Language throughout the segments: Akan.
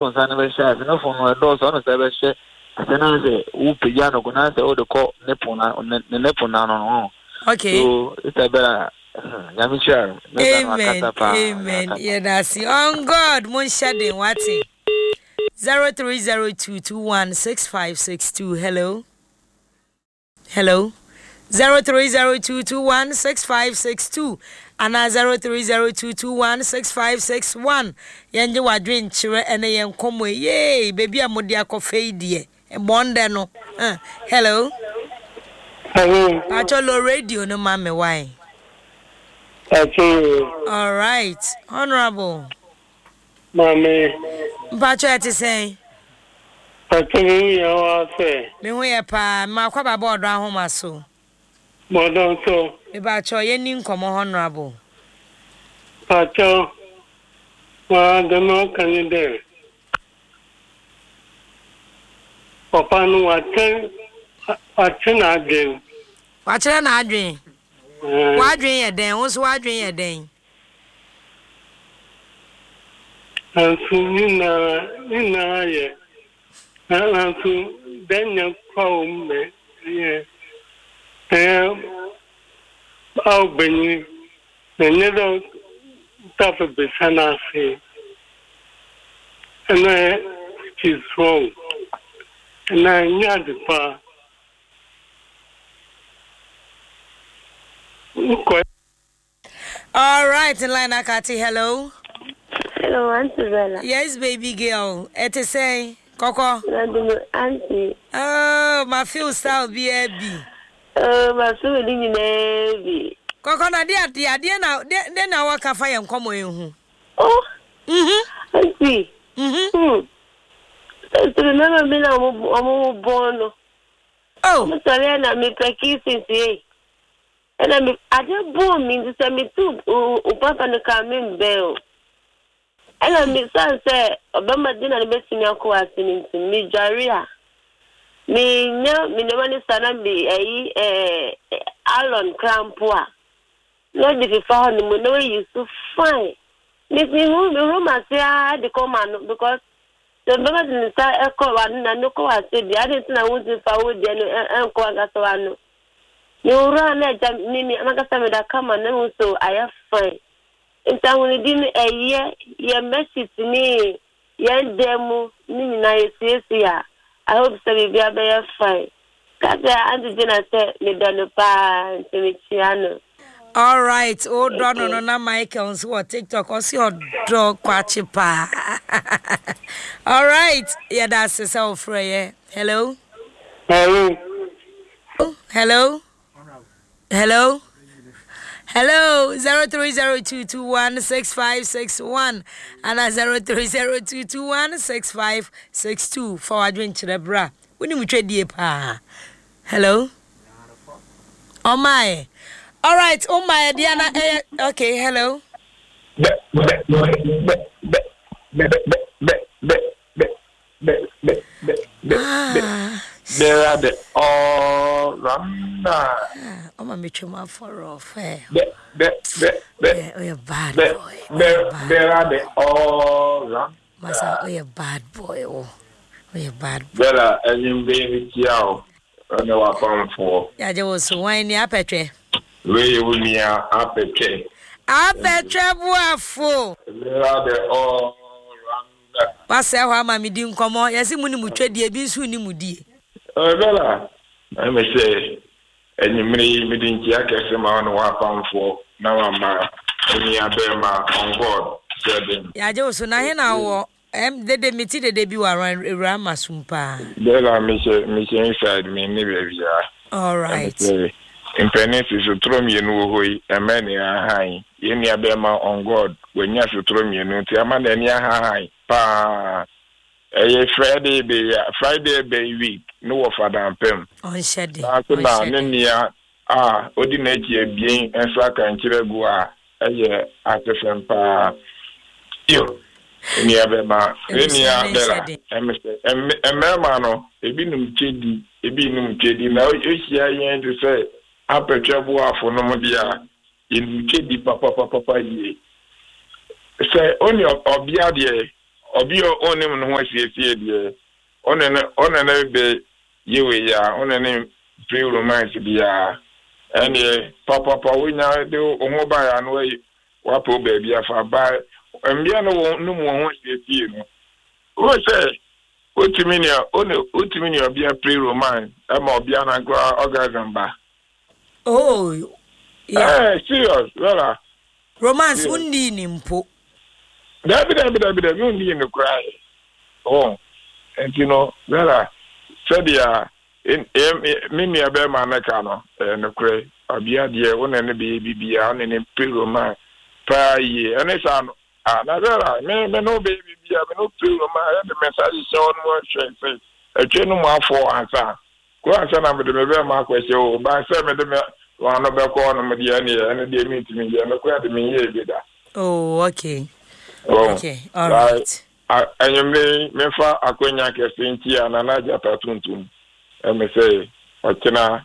Wo nsa no bɛhyɛ ase no fo no ɛdɔɔso ɔno sɛ ɛbɛhyɛ ase na sɛ wopagya no ko na sɛ wode kɔ ne po na ne ne po na no no. Okay. So Isabella nyame hyira no. Amen. Amen. Yɛda ase. On God mo nhyɛ den wate. 0302216562 hello. Hello. 0302216562 anaa 0302216561 yɛngye w'adwenkyerɛ ɛne yɛn nkɔmmɔ yi yee baabi a mode akɔfa yi deɛ bɔndɛ no huh. Hello. Hello. Pacho low radio no ma me why? Pacho. All right, honorable. Maame. Mpacho ɛte sɛn? Pacho me ho yɛ wo asɛ? Me ho yɛ paa, me makɔ aba bɔ ɔdɔ ahoma so. Bɔdɔ so. Me pacho yɛ ni nkɔmɔ honorable. Pacho, waa dɛm ɔka nye dɛ, papa no wakyɛ wakyɛ n'adwen. Wakyerɛ n'adwen? W'adwen yɛ dɛn? Wo nso w'adwen yɛ dɛn? Nanso ne nyinaa ne nyinaa yɛ nanso dɛn nyɛ kwa wɔ mu mɛ ɛyɛ ɛyɛ awo banyin na nyɛ dɛ tafe besa n'ase ɛna which is wrong ɛna nyɛ ade pa. All right, in line akati. Hello. Hello, Auntie Bella. Yes, baby girl. Ɛte sɛn? Kɔkɔ. Auntie. Oh, ma feel style bi bi. Oh, ma feel ni nyinaa bi. Kɔkɔ na de adeɛ adeɛ na de de na wɔka fa yɛn nkɔmɔ yɛn ho. Oh. Mhm. Auntie. Mhm. Hmm. Sɛ mmarima bi na wɔn bɔn no. Oh. Wɔn sɔre na mepɛ kissing tie. Ɛna me ade bɔɔ me nti sɛ metu wo papa no ka me mbɛn o. Ɛna me san sɛ ɔbɛma de na no bɛtumi akɔ ase no nti medware a menya me nneɛma no sa na me ayi ɛɛ alon kora mpo a na ɔde fefa hɔ no mu na wayi so fine. Me mehu mehu m'ase ara de kɔ ma no because Sɛ ɔbarima de ne nsa kɔ w'ano na ano kɔ w'ase deɛ, adɛn nti na wontumi mfa wo deɛ no nkɔ w'ankasa w'ano? Mewura na agya me me m'ankasa meda kama na mehu sɛ ayɛ fine. Nti ahonidi no ɛyɛ yɛn bedsheet ne yɛn dan mu ne nyinaa yɛsiesie a, I hope sɛ biribiara bɛyɛ fine. Ka kyerɛ Auntie Gina sɛ medɔ no paa nti mekyia no. Alright, wo dɔ no no na Michael nso wɔ TikTok ɔsi ɔdɔ kwakye paa. Alright, yɛda ase sɛ wofrɛ yɛ. Hello. Hello. Hello. Hello. Hello, 0302216561 ana 0302216562 fa w'adwenkyerɛ bra. Wonim twɛdie paa. Hello. Ɔmaeɛ. Alright, womaeɛ deɛ na ɛyɛ okay, hello. Bera the all rounder. Ọma mi twem afọrọ ọfẹ. Bẹ bẹ bẹ bẹ. Oyɛ bad boy. Bera the all rounder. Masa oyɛ bad boy o. Oyɛ bad boy. Bella enyimbe mi tia o. Ɛne w'apamfoɔ. Yagye wo so wan ni apɛtwɛ. Wei yɛ wo nua apɛtwɛ. Apɛtwɛ boafo. Bera the all rounder. Wasɛe hɔ ama me di nkɔmmɔ. Yɛse mo ne mo twɛdie ebi nso nni mo die. Bella, ɛme sɛ anwummere yi mede nkyia kɛse ma wo ne w'apamfoɔ na wama wo nua bɛɛma on God sɛ den. Yagye wo so na he na wowɔ? Ɛm dede me ti dede bi wɔ around awura ama sum paa. Bella mehyɛ mehyɛ inside me nni baabiara. Alright. Ɛm sɛ mpanin si sotoro mmienu wɔ hɔ yi ɛmɛ ne ahan yɛn nua bɛɛma on God wanya sotoro mmienu nti ama n'ani ahahan paa ɛyɛ Friday bɛyi a Friday bɛyi week ne wɔ fadampem. Ɔnhyɛ de Saa nso na ɔnhyɛ ne de. nua a odi n'akyi abien nso aka nkyerɛ gu a ɛyɛ asefem paa. Yo, me nua bɛma, me nua Bella, ɛme sɛ, mmarima no, ebi nom kyedi, ebi nnom kyedi, na ohyia yɛn te sɛ apɛtwɛ boafo nom deɛ a, yɛnim kyedi papapapapa yie. Sɛ ɔne ɔbea deɛ, Obi a ɔnnim ne ho asiesie deɛ, ɔne no ɔne no bɛ yɛ wei a, ɔne no mpere romance biara. Ɛnneɛ papapa wonya de wo ho baeɛ a na wayi wapɛ wo baabi afa. Ba mmea no wɔn nim wɔn ho asiesie no, wohu sɛ wotumi ne ɔne wotumi ne ɔbea pere romance ɛma ɔbea no ankora orgasm ba. Oh, yeah. Eh, serious, Bella. Romance, wonni ne mpo. Dabi, dabi, dabi, dabi, wonni ne koraa. Oh, nti no, Bella, sɛdeɛ me nua bɛrima no ka no, ɛyɛ nokorɛ. Ɔbea deɛ, wo ne no bɛyɛ biribiara, wo ne no pere romance paa yie. Ɛne saa no, ah, na Bella, me, me ne wo bɛyɛ biribiara, me ne wo pere romance, yɛde me nsa hyehyɛ hɔ no mu ahwɛ sɛ ɛtwe no mu afɔ ansa. Kɔ ansa na mede me bɛrima akɔhyɛ o, ba sɛ mede me ano bɛkɔ hɔnom deɛ ɛneɛ, ɛno deɛ mentumi nyɛ, nokorɛ de menyɛɛ bi da. Oh, okay. Oh, okay, all right. Anwummere yi, memfa akwanya kɛse nkyia Nana Agyata Tuntum. Ɛme sɛ ɔkyena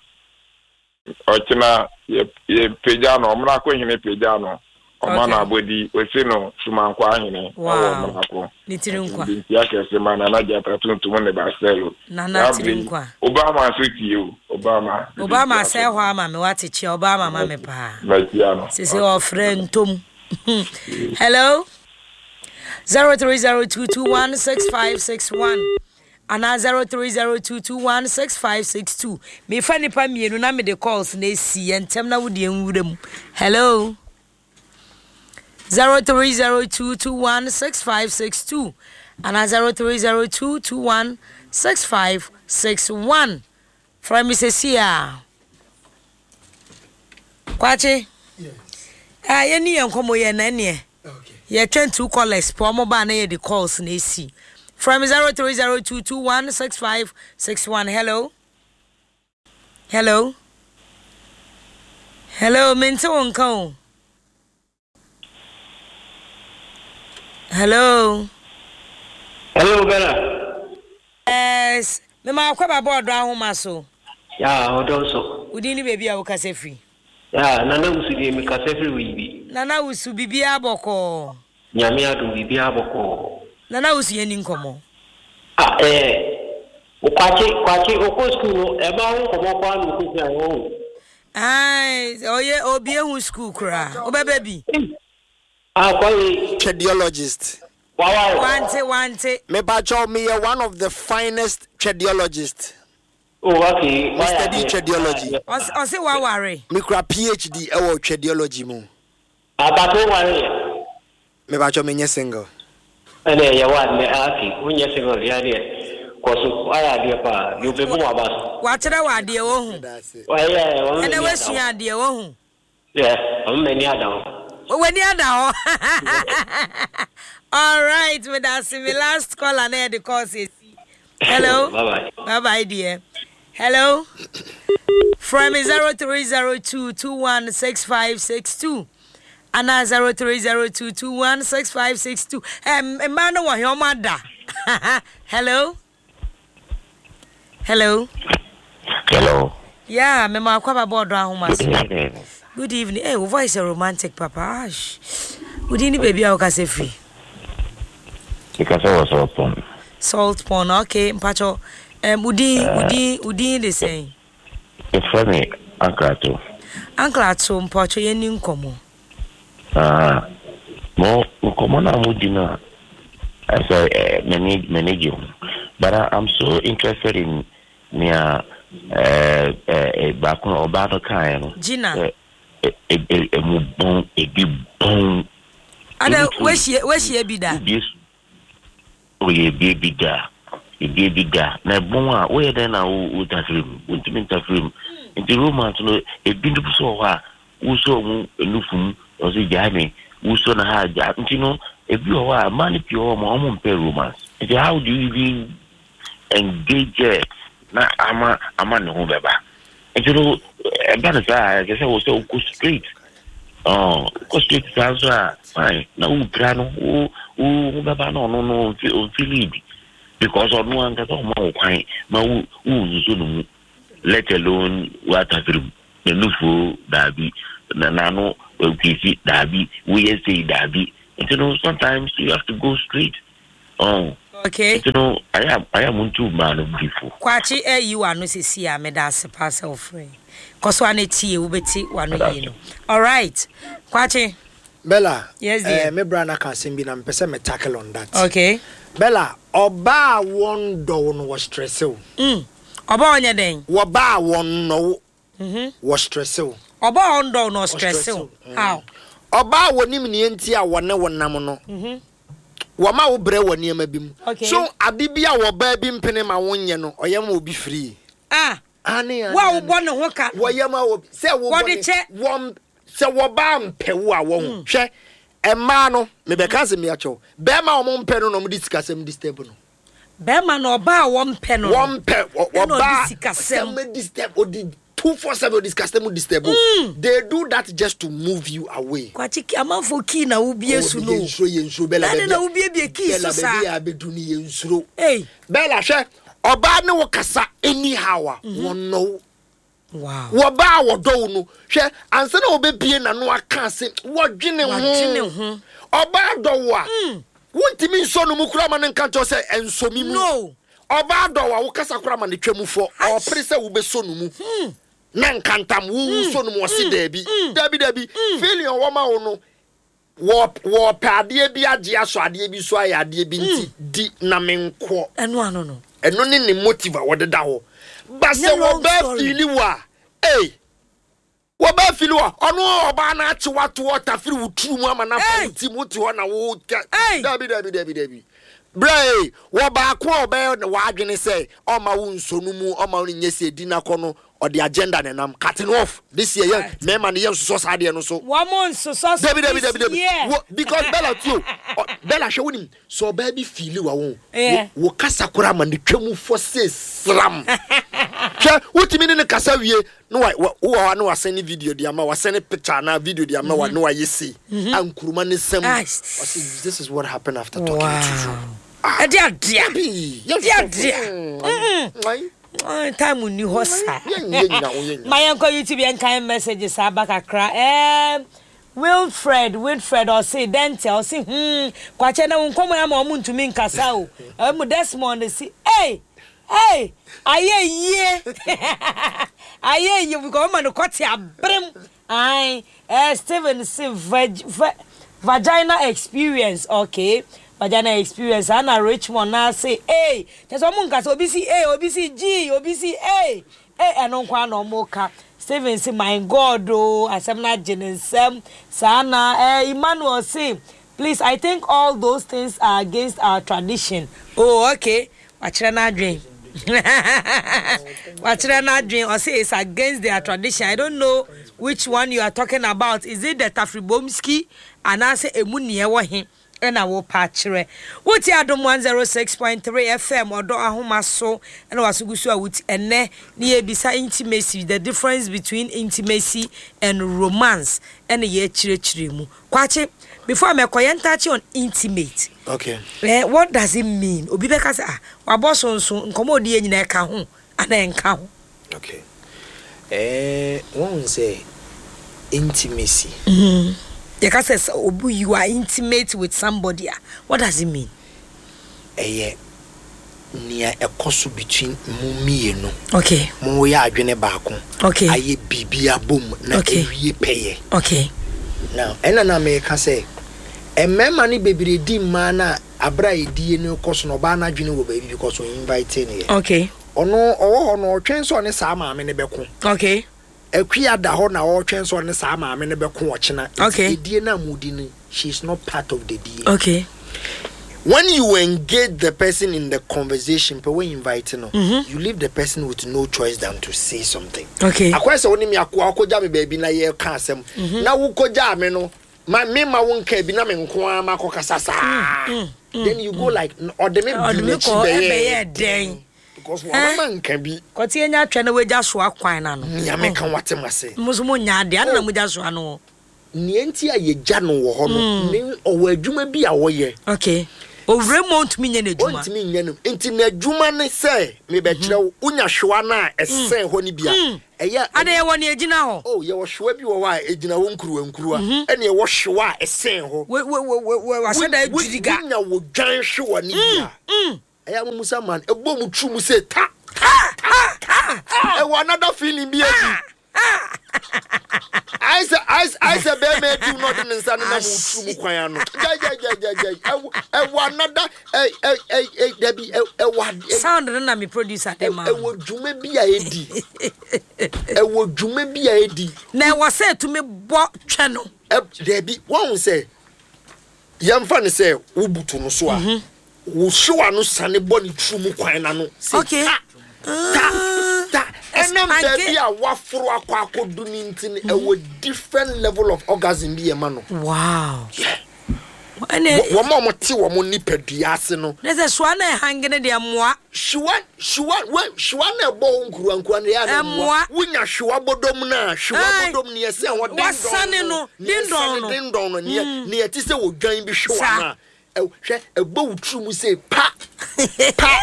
ɔkyena yɛ yɛpagya no, Ɔmenako hene pagya no. Ɔma no abɔdi, ɔsi no Sumankwaa hene ɛwɔ Ɔmenako. Ne tiri nkwa. Nti nkyia kɛse ma Nana Gyata Tuntum ne Baselo. Nana tiri nkwa. Obama nso tie o. Obama. Obama sɛ hɔ ama me wate kyia Obama ma me paa. Makyia no. Sese ɔfrɛ ntom. Hello. 0302216561 anaa 0302216562 mefa nipa mmienu na mede calls na esi yɛ ntɛm na wode nwura mu. Hello. 0302216562 anaa 0302216561 Frɛ me sesie a. Kwakye. Ah, yɛni yɛn nkɔmmɔ yɛ na ɛneɛ. Yɛtwɛn two callers pɛ ɔmo ba na yɛde calls na esi. Frɛ me 0302216561. Hello. Hello. Hello, mente wo nka o. Hello. Hello, Bella. Yes. Me ma akɔ ba bɔɔdo ahoma so. Ya, ɔdɔ so. Wodin ne baabi a wokasa firi. Ya, Nana Wusu deɛ mekasa firi Weibi. Nana Wusu, biribiara bɔkɔɔ. Nyame adom, biribiara bɔkɔɔ. Nana Wusu yɛn ni nkɔmmɔ. Ah, eh, Kwakye, Kwakye, okɔ sukuu no, ɛma ho nkɔmmɔ koraa na ɔkɔsua ɛwɔ ho. Ae ɔyɛ obi ehu school koraa wobɛbɛ bi. Ah kwame. Twɛdeologist. Wawa o. Wante wante. Mepakyɛw meyɛ one of the finest twɛdeologist. Oh okay Me wayɛ study adeɛ twɛdeology. wayɛ adeɛ. Ɔse ɔse waware. Mekura PhD ɛwɔ twɛdeology mu. Ah but wo nware yɛ. Mepakyɛw menyɛ single. Ɛnna ɛyɛ wo ade ah okay wonyɛ single deɛ ɛneɛ kɔ so wayɛ adeɛ paa deɛ ɔbɛbu w'aba so. Wakyerɛ wo adeɛ wohu. Wayɛ ɔmo Ɛnɛ m'ani ada wasua hɔ. adeɛ wohu. Yeah ɔmo m'ani ada hɔ. W'ani ada hɔ. Alright medase me last caller na yɛde calls esi. Hello. Bye bye. Bye bye dear. Hello. Frɛ me 0302 216562 anaa 0302 216562. Eh, mmaa no wɔ he ɔmo ada. Hello. Hello. Hello. Yeah, me ma akwa ba bɔɔdo ahoma Good so. evening. Good evening. Hey, wo voice is romantic, papa. Ash. Wodin ne baabi a wokasa firi? Mekasa wɔ Salt Pond. Salt Pond, okay. Mpacho, wodin, wodin, wodin de sɛn? Yɛfrɛ me Uncle Ato. Uncle Ato, mpacho yɛnni nkɔmmɔ. Ah, mo nkɔmmɔ no a modi no a, ɛsɛ eh, m'ani m'ani gye ho. But I, I'm so interested in nea eh, eh, baako a ɔbaa no kaeɛ no. Gina. Sɛ emu bɔn, ebi bɔn. Ada, wahyia wahyia bi da? Oyɛ ebie bi da, ebie bi da. Na ɛbɔn a, woyɛ dɛn na wotafiri mu? Wontumi ntafiri mu. Nti romance no, ebi nso wɔ hɔ a, wosɔ ɔmo nufu mu, ɔsi gyae me, wosɔ na ha gya. Nti no, ebi wɔ hɔ a, mmaa no pii wɔ hɔ a, ɔmo mpɛ romance. Nti how do you even engage her na ama ama ne ho bɛba? Nti no, ɛba no saa a, ɛsɛ sɛ wo sɛ wokɔ straight. Oh, wokɔ straight saa nso a, fine. Na wopira no, wo wo ho bɛba na ɔno no ɔmfi ɔmfi lead. Because ɔno ankasa ɔma wo kwan ma wo wo nsuso no mu, let alone woatafere mu. N'anufuo daabi, na n'ano kisi daabi, woyɛ sei daabi. Nti no, sometimes you have to go straight. Ɔn. Okay. Nti no ayɛ a ayɛ a montu mmaa no bi fo. Kwakye ayi w'ano sesei a meda ase paa sɛ wo frɛ. Kɔ so ara na tie wobɛte w'ano yie no. Alright Kwakye. Bella, Yes dear. eh, me bra no aka asɛm bi na mepɛ sɛ me tackle on that. Okay. Bella, ɔbaa a wɔndɔ wo no wɔ stresse wo. Mm. Ɔbaa ɔnyɛ dɛn? Wɔbaa a wɔnnɔ wo wɔ stresse wo. Ɔbaa a ɔndɔ wo no ɔstresse wo. How? Ɔbaa a wɔnim nea nti a wɔne wo nam no, wɔma wo brɛ wɔ nneɛma bi mu. So ade bi a ɔbaa bi mpene ma wonyɛ no, ɔyɛ ma obi free? Ah. Ane, ane, Wo a wobɔ ne ho ka no. Wɔyɛ ma obi sɛ wobɔ ne wɔn sɛ wɔbaa mpɛ wo a wɔn hwɛ mmaa no mebɛka asɛm bi akyɛw bɛrima a wɔn mpɛ no na wɔn de sikasɛm disturb no. Bɛrima no ɔbaa a wɔmpɛ no no. Wɔmpɛ ɛna ɔde ɔbaa sikasɛm. sɛm disturb ɔdi 247 ɔdi sikasɛm disturb o. They do that just to move you away. Kwakye amanfoɔ kii na wobie so no. Yɛn nsuro yɛn nsuro Bella baabi na wobiebie kii so saa. Bella baabi a abedu ni yɛn nsuro. Hey. Bella hwɛ ɔbaa ne wo kasa anyhow a wɔnnɔ wo. Wow. Wɔbaa a wɔdɔ wo no, hwɛ, ansa na wɔbɛbie n'ano aka ase, wɔdwene ho. Wɔdwene ho. Ɔbaa dɔ wo a, wontumi nsɔ no mu koraa ma no nka nkyerɛ wo sɛ ɛnsɔ me mu. No. Ɔbaa dɔ wo a, wokasa koraa ma no twa mu fɔ. Ɔpere sɛ wobɛsɔ no mu. Na nkantam, wo wosɔ no mu, ɔse daabi. Daabi, daabi. Feeling a ɔwɔ ma wo no, Wɔ wɔpɛ adeɛ bi agye asɔ adeɛ bi so ayɛ adeɛ bi nti di na menkɔ. Ɛno ano no. Ɛno ne ne motive a wɔde da hɔ. Ba sɛ Nyɛ long wɔbaa story. fiili wo a, ei, wɔbaa fiili wo a, ɔno ɔbaa no akye wo ato hɔ tafiri wo tiri mu ama no afa wo Ei! ti mu wote hɔ na wo ka. Ei! Dabi, dabi, dabi, dabi. Berɛ ei, wɔ baako a ɔbɛyɛ w'adwene sɛ ɔmma wo nsɔ no mu, ɔmma wo nyɛ sei, di no akɔ no, Ɔde agenda na ɛnam. Cutting off this year yɛn mmarima no yɛn nsosɔ saa adeɛ no so. Wɔn nsosɔ so Dabi dabi dabi this dabi. year. Wo because Bella tio Bella hwɛ wonim sɛ ɔbaa bi fiili wa wo Yeah. wo kasa koraa ma ne twa mu fɔ se sram. Hwɛ wotumi ne ne kasa wie na wa wa wowɔ hɔ a na wasɛn ne video de ama wasɛn ne picture anaa video de ama wa na wayɛ sei a nkuruma ne nsam. Ah. Ɔse this is what happened after talking to you. Wow. Ɛde adea. Dabi. Ɛde adea. Mm. Time nni hɔ saa. Ma yɛnkɔ YouTube yɛnkan messages aba kakra. Um, Wilfred, Wilfred ɔse dɛn ntia ɔse hmm kwakyɛ na wo nkɔmmɔ yi ama ɔmo ntumi nkasa o. Ɛmu Desmond se ei ei ayɛ yie ayɛ yie because ɔma no kɔte aberem Ae eh Steven se vag va vagina experience okay vagina experience saa na Richmond naa se ei kyerɛ sɛ ɔmo nka sɛ obi si ei obi si gyii obi si ei ei ɛno nko ara na ɔmo ka Steven se my God oo asɛm no agye ne nsam saa na eh Emmanuel se Please I think all those things are against our tradition oh okay wakyerɛ n'adwen wakyerɛ n'adwen ɔse it's against their tradition I don't know which one you are talking about is it the tafribomski anaasɛ emu nea ɛwɔ he ɛna wopa akyerɛ wotie adom 106.3 fm ɔdɔ ahoma so ɛna waso gu so a woti ɛnɛ ne yɛbisa intimacy the difference between intimacy and romance ɛna yɛkyerɛkyerɛ mu Kwakye, before mɛkɔ, yɛn touch on intimate. Okay. Eh, what does it mean? Obi bɛka sɛ, ah, wabɔ so nso, nkɔmɔ odi yɛ nyinaa ɛka ho, anaa ɛnka ho? Okay. Eh, wɔn sɛ intimacy. Mm-hmm. Yɛka sɛ sɛ obi you are intimate with somebody a, what does it mean? Ɛyɛ nea ɛkɔ so between mo mmienu. Okay. Mo yɛ adwene baako. Okay. Ayɛ biribi abom na okay. awie pɛyɛ. Okay. Now, ɛna na meka sɛ mmarima no bebree di mmaa no a abere a ɛdie no kɔ so no ɔbaa no adwene wɔ baabi because ɔn invite no yɛ. Okay. Ɔno ɔwɔ hɔ no ɔtwɛn sɛ ɔne saa maame no bɛko. Okay. Akua da hɔ na ɔretwɛn sɛ ɔne saa maame no bɛko ɔkyena. Nti Okay. edie no a modi no, she is not part of the die. Okay. When you engage the person in the conversation, pɛ wo invite no, you leave the person with no choice than to say something. Okay. Akɔyɛ sɛ wo ne me akoa wokɔgya me baabi na yɛreka asɛm, na wokɔgyaa me no, ma me ma wo nka bi na me nko ara makɔkasa saa. Then you go like, ɔde me Ɔde di me n'akyi kɔ bɛyɛɛ ɛbɛyɛɛ dɛn? Because wɔn ama nka bi. Kɔte enya twɛ na wagya soa kwan na no. Nea meka wate ma se. Mo nso mo nya adeɛ, adɛn na mo gya soa no hɔ? Nea nti a yɛgya no wɔ hɔ no, ne ɔwɔ adwuma bi a ɔyɛ. Okay. Owura mu a ɔntumi nyɛ n'adwuma. Ɔntumi nyɛ no. Nti n'adwuma ne sɛ mebɛkyerɛ wo, wonya hwewa no a ɛsɛn hɔ no bi a, ɛyɛ a. Ada yɛwɔ nea ɛgyina hɔ. Oh, yɛwɔ hwewa bi wɔ hɔ a ɛgyina hɔ nkuruwa nkuruwa, ɛna yɛwɔ hwewa a ɛsɛn hɔ. Wahyɛ da adwiri ga. Wonya wo dwan hwewa no bi a, ɛyɛ a momusa man, ɛbɔ mu turu mu sɛ ta, ta, ta, ta. Ɛwɔ another feeling bi adi. Ayɛ sɛ ayɛ sɛ ayɛ sɛ bɛrima adiw na ɔde ne nsa nenam wo tiri mu kwan ano. Gyae gyae gyae gyae gyae. Ɛwɔ ɛwɔ another ɛ ɛ ɛ ɛ dabi ɛ ɛwɔ ade. Sound no na me producer de ma. Ɛwɔ dwuma bi a edi. Ɛwɔ dwuma bi a edi. Na ɛwɔ sɛ etumi bɔ twɛ no. Ɛ dabi wɔn sɛ yɛnfa ne sɛ wobutu no so a. Wo hyew ano sane bɔ ne tiri mu kwan no ano sɛ Okay. ta ta ta. Ɛnam Ɛspanke. baabi a waforo akɔ akɔdu no nti no, ɛwɔ different level of orgasm bi ɛma no. Wow. Yeah. Ɛnna Wɔ- Wɔn a wɔte wɔn nipadua ase no, ne sɛ soa na ɛhange no deɛ mmoa. hyewa hyewa wɛ hyewa na ɛbɔ wo nkuruwa nkuruwa no yɛ a na Ɛmmoa. mmoa. Wonya hyewa bodom no a, hyewa Ae. bodom no yɛsɛ hɔ dendɔn Wasane no, nea dendɔn ɛsane no. dendɔn no, nea nea ɛte sɛ odwan bi hyewa Saa. no a, Hwɛ, ɛbɔ wo tiri mu sɛ pa, pa,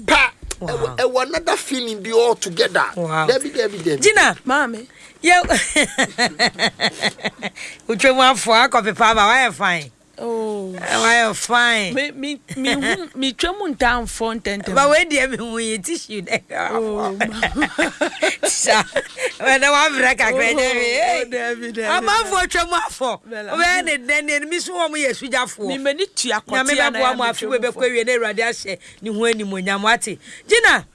pa. Ɛwɔ ɛwɔ another feeling bi all together. Wow. Dabi dabi dabi. Gina. Maame. Yɛ wotwa mu afɔ akɔ pepa aba wayɛ fine. Oh. Wayɛ fine. Me me me hu me twa mu ntaa mfɔ ntɛntɛm. Ba wei deɛ me hu yi tissue dɛ. Oh. Sa ɛnɛ wabrɛ kakra ɛnyɛ hwee. Oh, dabi dabi. Amanfoɔ twa mu afɔ. Bella. Wobɛyɛ ne dɛn ne mi so wɔn yɛ sugyafoɔ. Me m'ani tua Nyame kɔtea na bɛboa ya mo me afe twa wei mu bɛkɔ fɔ. awie na Awurade ahyɛ ne ho animuonyam wate. Gina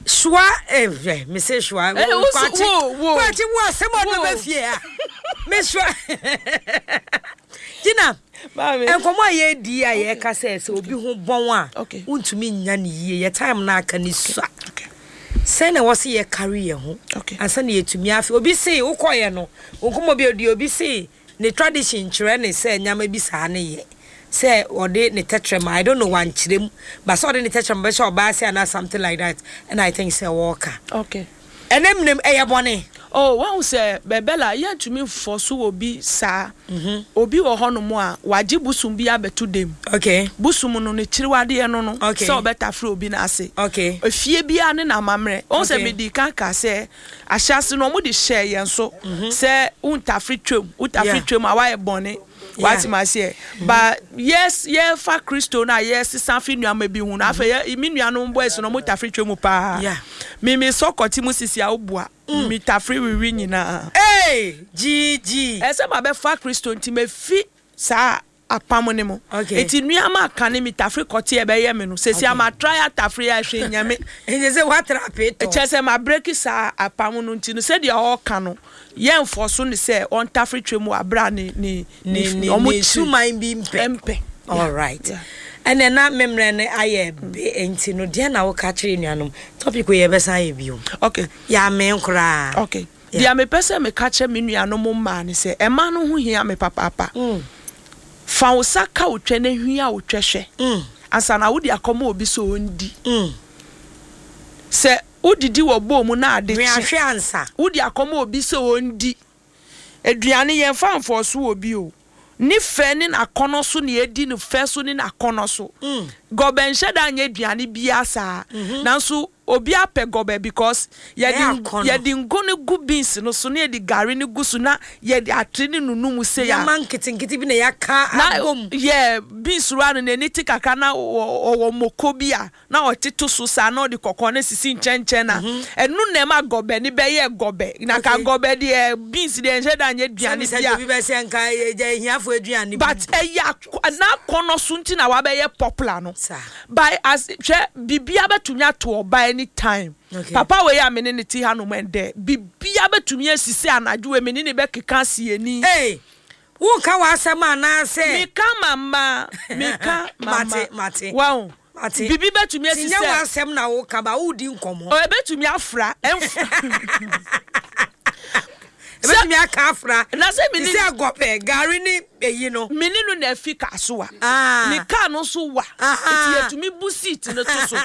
soa eh, hwɛ me se soa. Eh, wo so- Kwakye wo, wo. Kwakye wo asɛm a ɔde Wo. bɛba fie ha. Me soa. Gina Maame. nkɔmmɔ a yɛredi a yɛreka sɛ sɛ obi ho bɔn a Okay. wontumi nnya ne yie yɛ time no aka ne sua. Okay. Sɛn na ɛwɔ sɛ yɛkari yɛn ho Okay. ansa na yɛatumi afe? Obi se wokɔeɛ no, wo nkɔmmɔ bi a ɔdi, obi se ne tradition kyerɛ ne sɛ nneɛma bi saa ne yɛ. Sɛ ɔde ne tɛtrɛma, I don't know, wankyerɛ mu, but sɛ ɔde ne tɛtrɛma bɛhyɛ ɔbaa ase anaa something like that, ɛna I think sɛ wɔreka. Okay. Ɛnɛ mmerɛ mu, ɛyɛ bɔne? Oh, wahu sɛ, Bɛbɛla, yɛntumi mfɔso obi saa. Obi wɔ hɔnom a, wagye bosom bi abɛto dam. Okay. Bosom no, ne kyiriwadeɛ no no, Okay. sɛ ɔbɛtafere obi n'ase. Okay. Efie biara ne n'amammerɛ. Wahu sɛ Okay. medii kan kaa sɛ, ahyɛase no, wɔde hyɛɛ yɛn so sɛ wontafere twam, wotafere Yeah. twam a, woayɛ bɔne. Yeah. Wate m'aseɛ? But yɛs, yɛfa Kristo no a yɛsesa fi nneɛma bi ho no, afei yɛ, me nuanom boys no, wɔtafere twam paa. Yeah. Me, mesɔ kɔte mu sisi a, wobua. Metafere wiwi nyinaa. Hey! GG. Ɛsɛ mabɛfa Kristo nti mafi saa apam no mu. Okay. Nti nneɛma a kane metafere kɔte a ɛbɛyɛ me no, seesei Okay. ma try atafere a hwee nyɛ me. Nti sɛ woatra apee tɔ. Kyerɛ sɛ ma breaki saa apam no nti no sɛdeɛ ɔreka no yɛnfɔso no sɛ ɔntafere twam wɔ aberɛ a ne ne Ne ne ɔmo ne kyiri suman bi mpɛ. mpɛ. All right. Yeah. Ɛnɛ na me mmerɛ no ayɛ be nti no deɛ na woka kyerɛ nuanom topic wei yɛbɛsan ayɛ bio. Okay. Yɛamee koraa. Okay. Yeah. Deɛ mepɛ sɛ meka kyerɛ me nuanom mmaa ne sɛ ɛma no ho hia me papaapa. Fa wo sa ka wo twɛ na hwia wo twɛ hwɛ ansa na wode akɔma obi sɛ ɔndi. Sɛ wodidi wɔ bowl mu na ade Hwia kye, hwɛ ansa. wode akɔma obi sɛ ɔndi. Aduane yɛmfa mfɔɔso obi o. Ne fɛ ne n'akɔnnɔ so na yɛdi no fɛ so ne n'akɔnnɔ so. Gɔbɛ nhyɛ da nyɛ aduane biara saa. Nanso obi apɛ gɔbɛ because yɛde Ɛyɛ akɔnnɔ. yɛde ngo no gu beans no so na yɛde gari no gu so na yɛde atere no nunu mu sei a. Nneɛma nketenkete bi na yɛaka Na abom. yɛ beans wura no n'ani te kakra na ɔwɔ moko bi a na ɔte to so saa na ɔde kɔkɔɔ no sisi nkyɛnkyɛn na ɛno na ɛma gɔbɛ no bɛyɛ gɔbɛ. Na ka gɔbɛ deɛ beans deɛ nhyɛ da nyɛ aduane Sɛbi bi a. sɛ obi bɛsɛ nka ɛgya ahiafo aduane bi. But ɛyɛ n'akɔnɔ so nti na wabɛyɛ popular no. Saa. By as hwɛ biribiara bɛtumi ato ɔba anytime. Okay. Papa wei a me ne ne te hanom ɛndɛ biribiara bɛtumi asi sɛ anadwo wei me ne ne bɛkeka asi ani. Hey, wonka w'asɛm anaasɛ? Meka mama, meka mama. Mate, mate. Wahu. Mate. Biribi bɛtumi asi Ti nyɛ sɛ. w'asɛm na woka ba wodi nkɔmmɔ. Ɔ ebɛtumi afra ɛnf. Ebɛtumi aka afra. Na sɛ me ne. Ti sɛ gɔpɛ gari ne eyi no. Me ne no na afi kaa so a. Ah. Ne kaa no nso wa. Aha. Eti yɛtumi bu seat no to so.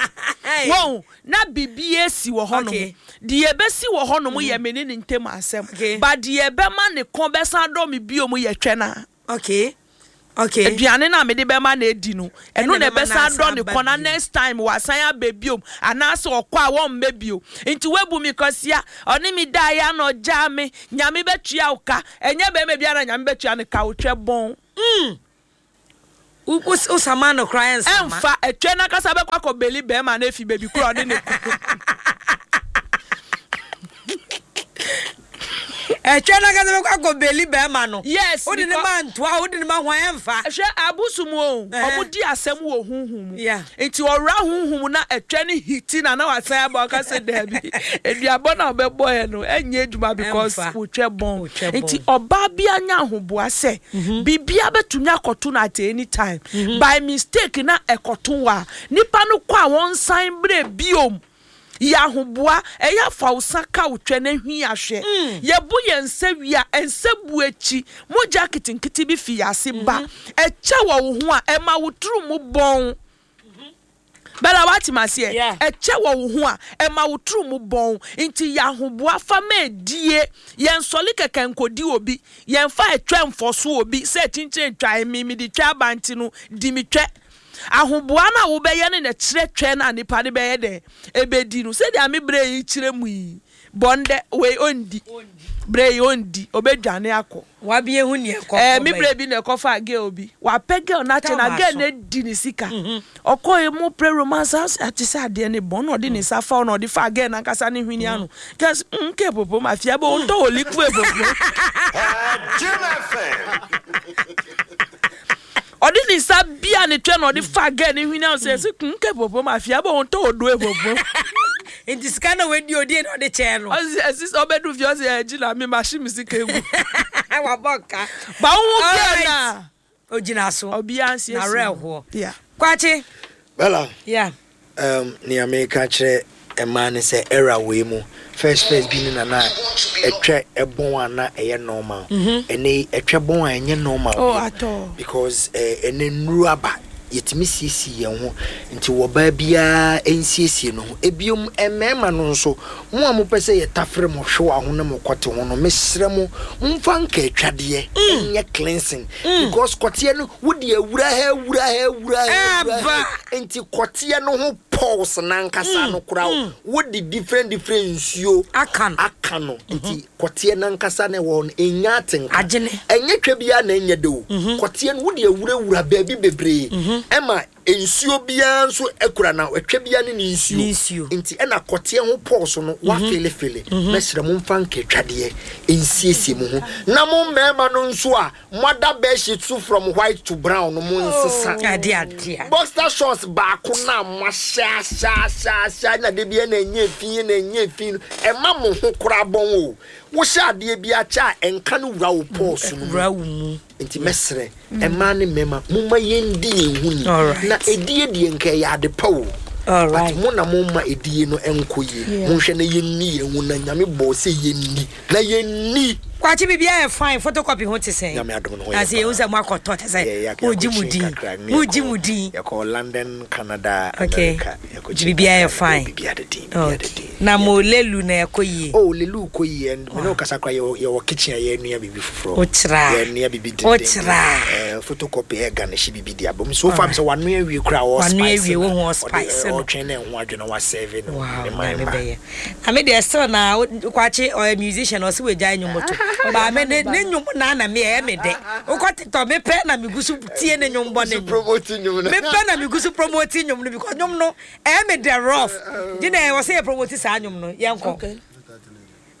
Wɔn na biribi esi wɔ hɔnom. Okay. Deɛ ebesi wɔ hɔnom yɛ me ne ne ntam asɛm. Okay. But deɛ ɛbɛma ne kɔn bɛsan dɔ me bio mu yɛ twɛ na. Okay. Okay. Aduane no a mede bɛma no adi no, ɛno Ɛna na ɛbɛma no ɛbɛsan asan adɔ ne aba kɔn na bio. next time wasan aba biom anaasɛ ɔkɔ a wɔmmɛ bio. Nti woabu me kwasia, ɔne me daeɛ a na ɔgyaa me, Nyame bɛtua wo ka. Ɛnyɛ barima biara na Nyame bɛtua no ka, wotwɛ bɔn. Mm. Wo, wo, wo sama no koraa ɛnsama. Ɛmfa, ɛtwɛ no ankasa bɛkɔ akɔ beli barima no afi baabi korɔ a ɔne no kɔ. Ɛtwɛ no ankasa bɛkɔ akɔ beli bɛrima no. Yes, Wode ne because ma ntoa, wode ne ma hwan ɛmfa. Hwɛ abosom o, Ɛhɛn. ɔmo di asɛm wɔ honhom mu. Yeah. Nti ɔwura honhom mu na ɛtwɛ no hiti na na wasan aba ɔka sɛ daabi, aduabɔ no a ɔbɛbɔɛ no ɛnyɛ adwuma because Ɛmfa. wotwɛ bɔn. Wotwɛ Nti bɔn. ɔbaa biara nya ahoboa sɛ biribiara bɛtumi akɔto no at any time. By mistake na ɛkɔto wo a, nipa no kɔ a wɔnsan brɛ biom. Yɛ ahoboa, ɛyɛ a fa wo sa ka wo twɛ na hwi ahwɛ. Yɛbo yɛn nsa wie a, nsa bu akyi, mogya nketenkete bi fi yɛn ase ba. Ɛkyɛ wɔ wo ho a, ɛma wo tiri mu bɔn. Bella, woate me aseɛ? Ɛkyɛ wɔ wo ho a, ɛma wo tiri mu bɔn. Nti yɛ ahoboa fa ma ɛdie. Yɛnsɔle kɛkɛ nkɔdi obi. Yɛmfa ɛtwɛ mfɔso obi sɛ kyinkyin twae me, mede twɛ aba nti no, di me twɛ. Ahoboa no a wobɛyɛ no na ɛkyerɛ twɛn a nipa no bɛyɛ dɛn? Ɛbɛdi no. Sɛdeɛ me berɛ yi kyerɛ mu yi, bɔ ndɛ, wei ɔndi. Berɛ yi ɔndi, ɔbɛdwane akɔ. Wabie hu nea ɛkɔ Ɛɛ, me kɔ berɛ bɛyi. bi na ɛkɔfaa girl bi. Wapɛ girl no akyɛ na Tama girl so. no adi ne sika. Ɔkɔeɛ mu pere romance a, ate sɛ adeɛ no bɔn na ɔde ne nsa fa hɔ na ɔde faa girl no ankasa ne hwene ano. Girl se, mm, nke popo, mafia bɛ, ɔntɔ wɔ liquid popo. Jim FM. Ɔde ne nsa bia ne twɛ na ɔde fa girl ne hwene ano sɛ ɛsɛ kun kɛ popo ma fia bɔ wɔn tɔ odo epopo. Nti sika na wadi odi na ɔde kyɛɛ no. Ɔsi ɛsi sɛ ɔbɛdu fie ɔsi ɛgyi na mi ma hye mi sika egu. Wabɔ nka. Ba wo ho girl na. Ogyina so. Ɔbia nsiesie. Na werɛ Yeah. Kwakye. Bella. Yeah. Um, nea meka kyerɛ mmaa ne sɛ era wei mu first first bi ne na na ɛtwɛ ɛbɔn a na ɛyɛ normal. Ɛnɛ yi ɛtwɛ bɔn a ɛnyɛ normal Oh, bio. at all. Because eh, ɛnɛ nnuru aba yɛtumi siesie yɛn ho nti wɔbaa biara nsiesie ne ho. Ebiom mmarima no nso mo a mopɛ sɛ yɛtafere mo hwewa ho ne mo kɔte ho no mesrɛ mo momfa nkaatwadeɛ nyɛ cleansing because kɔteɛ no Wode awura ha awura ha awura ha awura ha nti kɔteɛ no ho pulse nankasa no koraa wode different different nsuo aka no aka no nti kɔteɛ nankasa na ɛwɔ hɔ no ɛnya atenka Agyene. ɛnyɛ twa biara na ɛnyɛ de o kɔteɛ no wode awurawura baabi bebree ɛma nsuo biara nso akura na ɛtwa biara ne ne nsuo Ne nsuo. nti ɛna kɔteɛ ho pulse no wafelefele mɛsrɛ mo mfa nkatwadeɛ nsiesie mo ho na mo mmarima no nso a Moada bedsheet so from white to brown no mo nsesa. Ade adeɛ. Boxer shorts baako no a moahyɛ ahyɛ ahyɛ ahyɛ na da biara na ɛnyɛ fi na ɛnyɛ fi no ɛma mo ho koraa bɔn o. Wohyɛ adeɛ bi akyɛ a ɛnka no wura wo pores no mu. Wura wo mu. Nti mɛsrɛ mmaa ne mmarima momma yɛndi yɛn ho ni. Na ɛdie deɛ nka ɛyɛ ade pa o. But mo na momma ɛdie no ɛnkɔ yie. Monhwɛ na yɛnni yɛn ho na Nyame bɔɔ sɛ yɛnni. Na yɛnni. Kwakye biribiara yɛ fine photocopy ho te sɛn? Nyame adom no ho yɛ Na sɛ yɛhu sɛ moakɔtɔ kyɛ sɛ mogye mo din mogye mo din. Yɛkɔ London, Canada, Okay. America. Nti biribiara yɛ fine. Biribiara da din, biribiara da din. Na mo lelu na ɛkɔ yie. Oh, lelu kɔ yie and me ne wo kasa koraa yɛwɔ yɛwɔ kitchen a yɛrenoa biribi foforɔ. Wokyerɛ a. Yɛrenoa biribi dendenden. Wokyerɛ a. Eh, photocopy ɛ garnish biribi de abom. So far sɛ wanoa awie koraa a Wanoa ɔspice awie no. wohu Ɔde ɔspice no. ɔretwɛn na ɛho adwo na wasɛve no. Wow, Ne man Nyame mma. bɛyɛ. Na me deɛ still na Kwakye ɔyɛ musician ɔse wagyae nnwom to but me ne ne nnwom na na me ɛyɛ me dɛ wokɔ TikTok me pɛ na megu so tie ne nnwom bɔ ne nnwom me pɛ na megu so promote nnwom no because nnwom no ɛyɛ me dɛ rough gye na ɛwɔ sɛ yɛ promote saa nnwom no yɛnkɔ.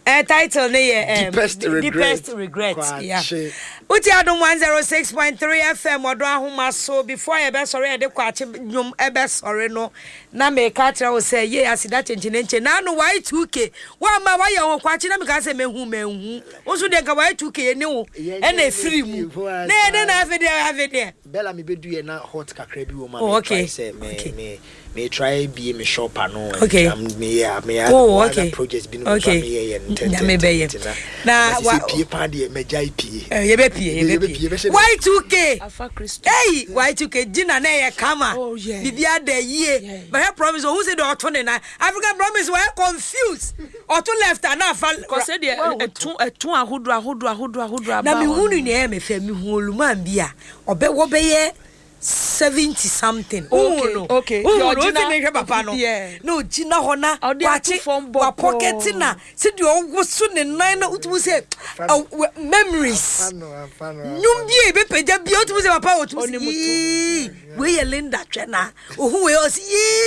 Eh, title ne yɛ Deepest Regret. Deepest Regret. Yeah. Kwakye. Wotie Adom 106.3 FM ɔdɔ ahoma so before yɛbɛsɔre yɛde kwakye nnwom ɛbɛsɔre no na meka kyerɛ wo sɛ yei aseda kyenkyenenkye na ano Y2K woama woayɛ ho kwakye na meka sɛ mehu manhu wo nso deɛ nka Y2K yɛne wo ɛna ɛfiri mu na yɛde na afei deɛ afei deɛ Bella me bɛdu yɛ na hot kakra bi wɔ mu a Oh, me okay. try sɛ me Okay. me Me try bie me shop ano. Okay. Me ya me ya. Oh, okay. Projects bi no okay. me yɛ yɛ ntɛntɛn. Nyame bɛyɛ. Na wa pie paa deɛ mɛgya pie. Eh, yɛbɛ pie, yɛbɛ pie. Y2K. Afa Kristo. Hey, Y2K Gina na ɛyɛ kama. Oh yeah. Bibi ada yie. Bɛhwɛ promise ohun sɛ deɛ ɔto ne nan. African promise wɔyɛ confused. Ɔto left ana afa. Kɔsɛ deɛ ɛto ɛto ahodoɔ ahodoɔ ahodoɔ ahodoɔ aba. Na mi hu ni nea ɛyɛ mi fɛ mi hu oluman bi a ɔbɛ wɔbɛyɛ 70 something. Okay, okay. Wohu no, wosi mehwɛ papa no. Yeah. Na ogyina hɔ na Ɔde ato wakye fam bɔkɔɔ. wapɔkɛte na sɛdeɛ ɔwoso ne nan na wotumi sɛ memories. Nnwom bi a ebɛpagya bi a wotumi sɛ papa wotumi sɛ yii wei yɛ Linda twɛ na ohu wei ɔsi yii.